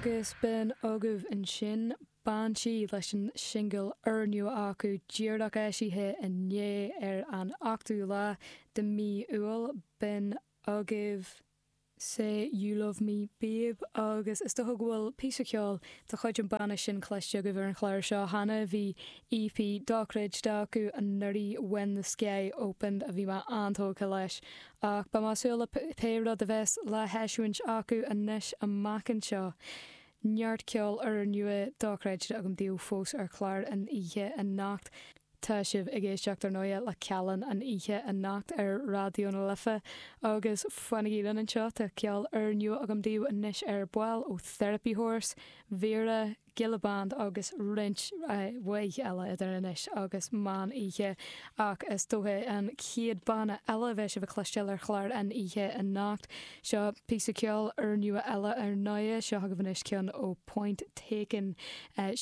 Agus b'in agaibh ansin Banshee leis an singil úrnua acu díreach eisithe inné ar an 8ú lá de mí Iúil. B'in agaibh. Say You Love Me Babe agus is dócha go bhfuil píosa ceoil de chuid an banna sin cloiste agaibh ar an chlár seo cheana. Bhí EP dochreidte acu anuraidh When the Sky Opened a bhí mé an-tógtha leis ach beidh mé ag súil le pé rud a bheas le heisiúint acu anois amach anseo. Neart ceoil úrnua dochreidte agam daoibh fós ar chlár an oíche anocht. Tá sibh ag éisteacht, ar ndóighe, le Callán an oíche anocht ar Raidió na Life agus fanaigí linn anseo, tá ceol úrnua agam daoibh anois ar ball ó Therapy Horse, Vera, Gilla Band agus roinnt mhaith eile idir anois agus meán oíche. Ach is dócha an chéad banna eile a bheidh sibh a chloisteáil ar chlár an oíche anocht, seo píosa ceoil úrnua eile ar ndóighe, seo agaibh anois ceann ó Point Taken,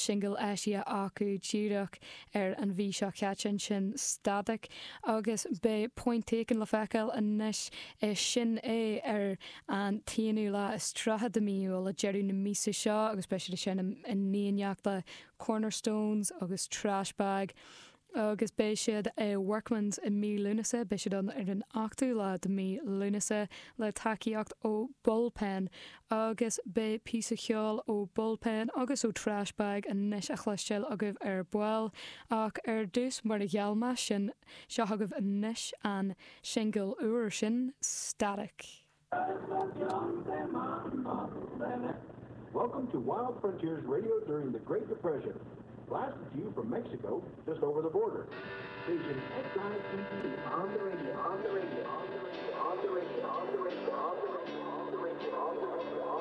singil eisithe acu díreach ar an mhí seo caite ansin, Static, agus beidh Point Taken le feiceáil anois i Sin É ar an t-aonú lá is 30 de mí Iúil, ag deireadh na míosa seo, agus beidh siad ag seinm in éineacht le Cornerstones agus Trashbag. Agus beidh siad i Workman's i mí Lúnasa, beidh siad ann ar an 8ú lá de mí Lúnasa le tacaíocht ó Bullpen Agus beidh píosa ceoil ó Bullpen agus ó Trashbag anois a chloisteáil agaibh ar ball. Ach ar dtús, mar a gheall mé, sin, seo agaibh anois an singil úr sin, Static. Welcome to Wild Frontiers Radio during the Great Depression. Blasted to you from Mexico, just over the border. Station XITT on the radio, on the radio, on the radio, on the radio, on the radio, on the radio, on the radio, on the radio.